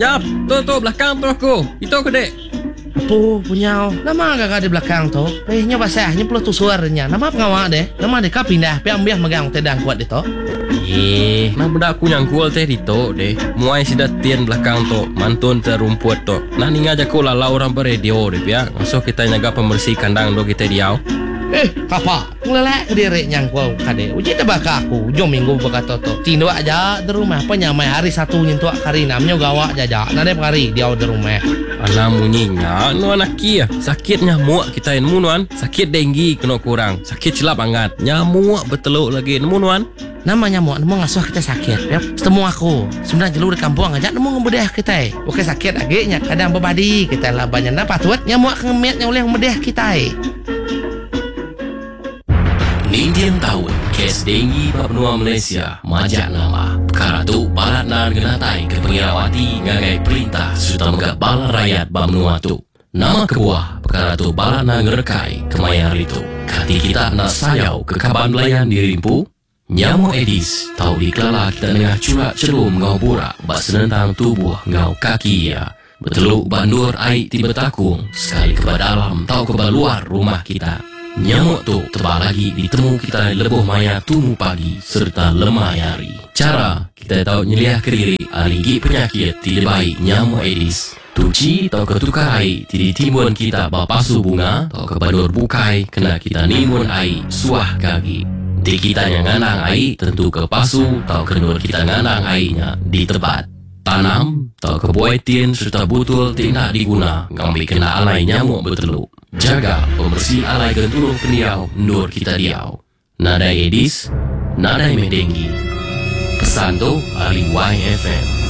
Jap, tu tu belakang tu aku. Itu ke dek. Apu, punyau. Nama gaga di belakang tu? Eh, nya basah, nya peluh tusur nya. Nama pengawa deh? Nama deh ka pindah pia ambih megang utai dangkut ditu? Eh, nah meda aku nyangkul teh ditu deh. Muai sida tin belakang tu, mantun te rumput tu. Nah ninga jaku lalau orang ba radio deh pia, ngasuh kitai nyaga pemeresi kandang endur kitai diau. Eh, kapa? Ngelelak kediri nyangkul kadi. Uji te baka aku ujung minggu baka tu tu. Tinduk aja di rumah pa nyamai hari satu nyentuk ke hari enam nyu gawa jaja nadai pengari diau di rumah. Alah munyi nya nuan aki. Sakit nyamuk kitai nemu nuan. Sakit denggi kenu ku orang. Sakit chelap angat. Nyamuk betelu lagi nemu nuan. Nama nyamuk nemu ngasuh kitai sakit pia. Setemu aku semina jelu di kampung aja nemu ngemedih kitai. Ukai sakit agi nya kadang bebadi kitai laban nya enda patut nyamuk ke ngemit nya ulih ngemedih kitai. Ninting taun, kes denggi ba menua Malaysia majak nambah. Pekara tu balat endar ngenataika pengirau ati ngagai perintah sereta mega bala rayat ba menua tu. Nama kebuah pekara tu balat endar ngerekai kemaya hari tu? Kati kita enda sayau ke kaban belayan diri empu? Nyamuk Aedes tau dikelala kita nengah churak chelum enggau burak ba senentang tubuh enggau kaki iya. Betelu ba endur ai ti betakung sekali ke ba dalam tauka ba luar rumah kita. Nyamuk tu tebal agi ditemu kitai lebuh maya tumu pagi sereta lemai hari. Chara kitai tau nyeliahka diri ari igi penyakit ti dibai nyamuk Aedes. Tuchi tauka tukar ai ti ditimbun kita ba pasu bunga tauka ba endur bukai kena kita nimbun ai suah ke agi. Enti kita nya ngandang ai, tentuka pasu tauka endur kita ngandang ai nya ditebat. Tanam tauka buai tin sereta butul ti enda diguna ngambika enda alai nyamuk betelu. Jaga pemeresi alai genturung pendiau endur kita diau. Nadai Aedes, nadai meh denggi. Pesan tu ari YFM.